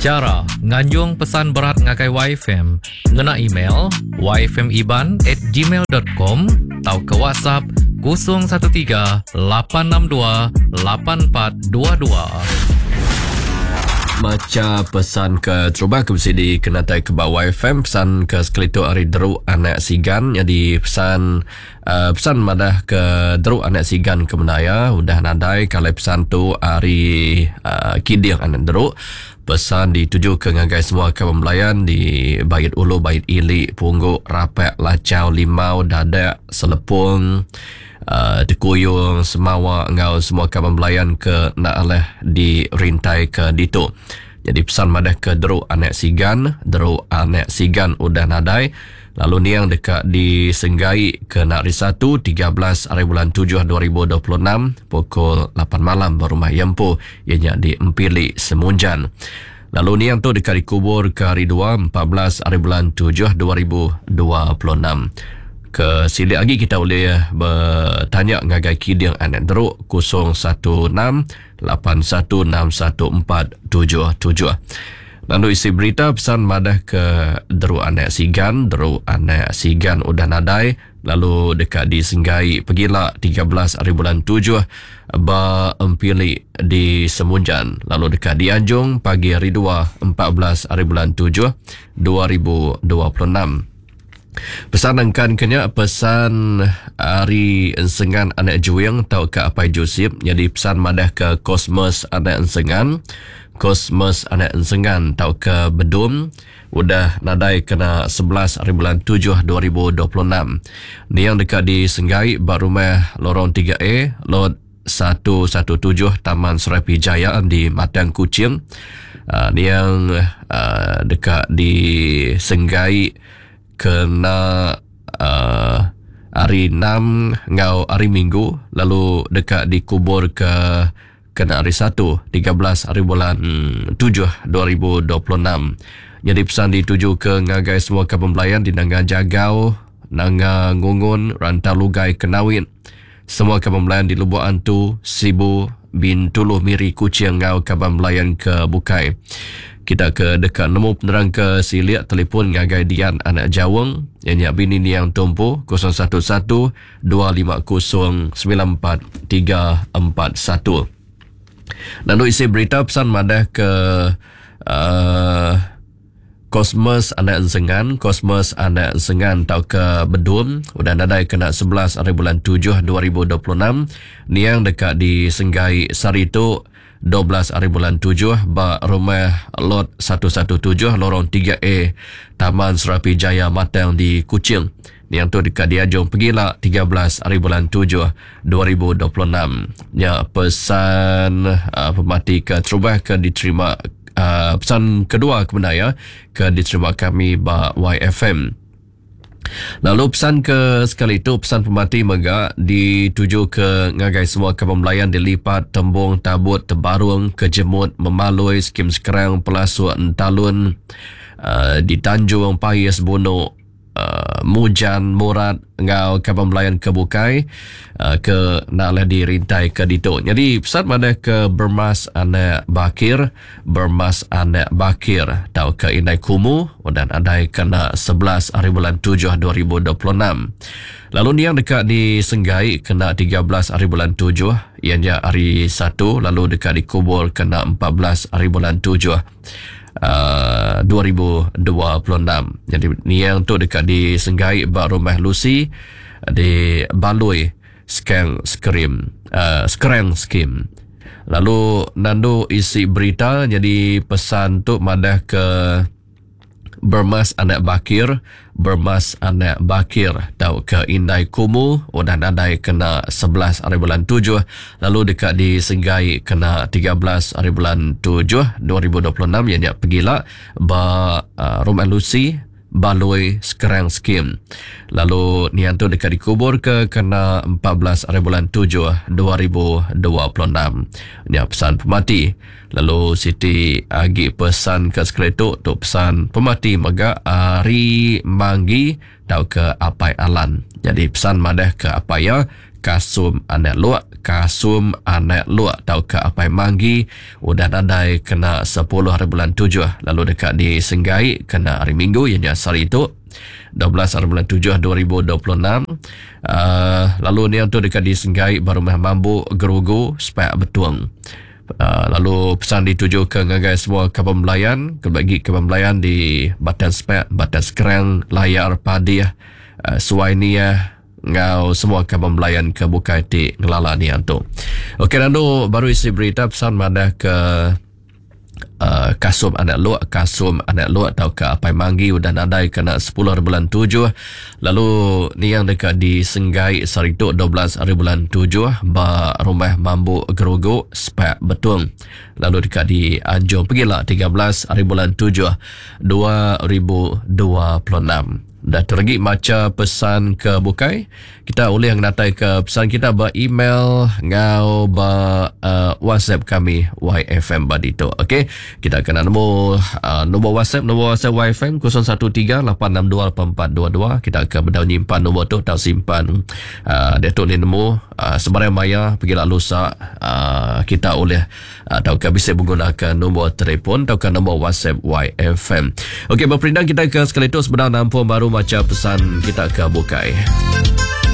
Chara nganjung pesan berat ngagai YFM ngena email yfmiban at gmail dot com tauka WhatsApp 013 862 8422. Macha pesan ke terubah ke bisi dikenatai ke ba YFM pesan ke sekali tu ari Deru Anak Sigan nyadi pesan uh, pesan madah ke Deru Anak Sigan ke menaya udah nadai kalai pesan tu ari uh, Kiding Anak Deru pesan dituju ke ngagai semua kaban belayan di Bait Ulu Bait Ili Punggu Rapak Lachau Limau Dadak Selepong uh, Tekuyung Semawa enggau semua kaban belayan ke enda alah dirintai ke ditu. Jadi pesan madah ke Deru Anak Sigan, Deru Anak Sigan udah nadai lalu niang deka disenggai ke nak hari Satu 13 hari bulan 7 2026 pukul 8 malam ba rumah iya empu iya nya di Empili Semunjan. Lalu niang tu deka dikubur ke hari Dua 14 hari bulan 7 2026. Ke silik agi kita ulih betanya ngagai Kiding Anak Deruk 016 8161477. Lalu isi berita pesan madah ke Deruk Anak Sigan, Deruk Anak Sigan udah nadai lalu deka disenggai pegila 13 hari bulan 7 ba Empili di Semunjan lalu deka dianjung pagi hari 2 14 hari bulan 7 2026. Pesan nangkan ke nya pesan ari Ensengan anak Juing tauka Apai Jusip nyadi pesan madah ke Cosmas anak Ensengan, Cosmas anak Ensengan tauka Bedum udah nadai kena 11 hari bulan 7 2026. Niang deka disenggai ba rumah Lorong 3A Lot 117 Taman Serapi Jaya di Matang Kuching. Uh, niang uh, deka disenggai kena uh, hari 6 enggau hari Minggu lalu deka dikubur ke kena hari 1 13 hari bulan 7 2026. Jadi pesan dituju ke ngagai semua kaban belayan di Nanga Jagau, Nanga Ngungun, Rantau Lugai, Kenawit, Semua kaban belayan di Lubok Antu, Sibu, Bintulu, Miri, Kuching enggau kaban belayan ke bukai. Kita ke deka nemu penerang ke silik telefon ngagai Dian Anak Jaung iya nya bini niang Tumpu 011 250 94341. Lalu isi berita pesan madah ke uh, Cosmas anak Ensengan, Cosmas anak Ensengan tauka Bedum udah nadai kena 11 hari bulan 7 2026 niang deka disenggai sehari tu 12 hari bulan 7 ba rumah Lot 117 Lorong 3A Taman Serapi Jaya Matang di Kuching. Niang tu deka diajung pegila 13 hari bulan 7 2026. Nya pesan uh, pemati ke terubah ke diterima uh, pesan kedua ke bendar ya ke diterima kami ba YFM. Lalu pesan ke sekali itu pesan pemati mega dituju ke ngagai semua kaban belayan di Lipat, Tembung, Tabut, Tebarung, Kejemut, Memalui, Skim Sekerang, Pelasuk, Entalun, uh, di Tanjung, Pais, Bunuk, uh, Mujan, Murat enggau kaban belayan ke bukai uh, ke enda alai dirintai ke ditu. Jadi pesan madah ke Bermas anak Bakir, Bermas anak Bakir tauka Indai Kumu dan adai kena 11 hari bulan 7 2026. Lalu niang deka disenggai kena 13 hari bulan 7 iya nya hari Satu lalu deka dikubur kena 14 hari bulan 7. uh, 2026. Jadi niang tu deka disenggai ba rumah Lucy di Balui Skeng Skrim uh, Skrang Skim. Lalu nandu isi berita jadi pesan tu madah ke Bermas anak Bakir, Bermas anak Bakir tauka Indai Kumu udah nadai kena 11 hari bulan 7 lalu deka disenggai kena 13 hari bulan 7 2026 iya nya pegila ba uh, Rumah Lucy Balui Sekerang Skim. Lalu nian tu deka dikubur ke kena 14 hari bulan 7 2026. Nya pesan pemati. Lalu siti agi pesan ke sekali tu, tu pesan pemati mega ari Manggi tauka Apai Alan. Jadi pesan madah ke apai iya Kasum Anak Luk, Kasum Anak Luk tauka Apai Manggi udah nadai kena sepuluh hari bulan tujuh lalu deka disenggai kena hari Minggu iya nya sehari tu 12 hari bulan tujuh 2026 uh, lalu niang tu deka disenggai ba rumah Mambu Gerugu Sepak Betung. Uh, lalu pesan ditujuka ngagai semua kaban belayan, kelebih agi kaban belayan di Batang Sepak, Batang Sekerang, Layar Padih, uh, Suai Niah, enggau semua kaban belayan ke bukai ti ngelala niang tu. Okey nandu baru isi berita pesan madah ke uh, Kasum Anak Luk, Kasum Anak Luk tauka Apai Manggi udah nadai kena 10 hari bulan 7 lalu niang deka disenggai sehari tu 12 hari bulan 7 ba Rumah Mambu Gerugu Sepak Betung lalu deka dianjung pegila 13 hari bulan 7 2026. Dah teregi macha pesan ke bukai, kita ulih ngenataika pesan kita ba email enggau ba uh, WhatsApp kami YFM ba ditu. Okey, kita kena nemu uh, nombor WhatsApp, nombor WhatsApp YFM 0138628422. Kita ke bedau nyimpan nombor tu tau simpan uh, dia tu ni nemu uh, sebarang maya pergi lalu lusa uh, kita ulih tauka bisi begunaka nombor telefon tauka nombor WhatsApp YFM. Okey, berperindang kita ke sekali tu sebenar nampung baru maca pesan kita ke bukai.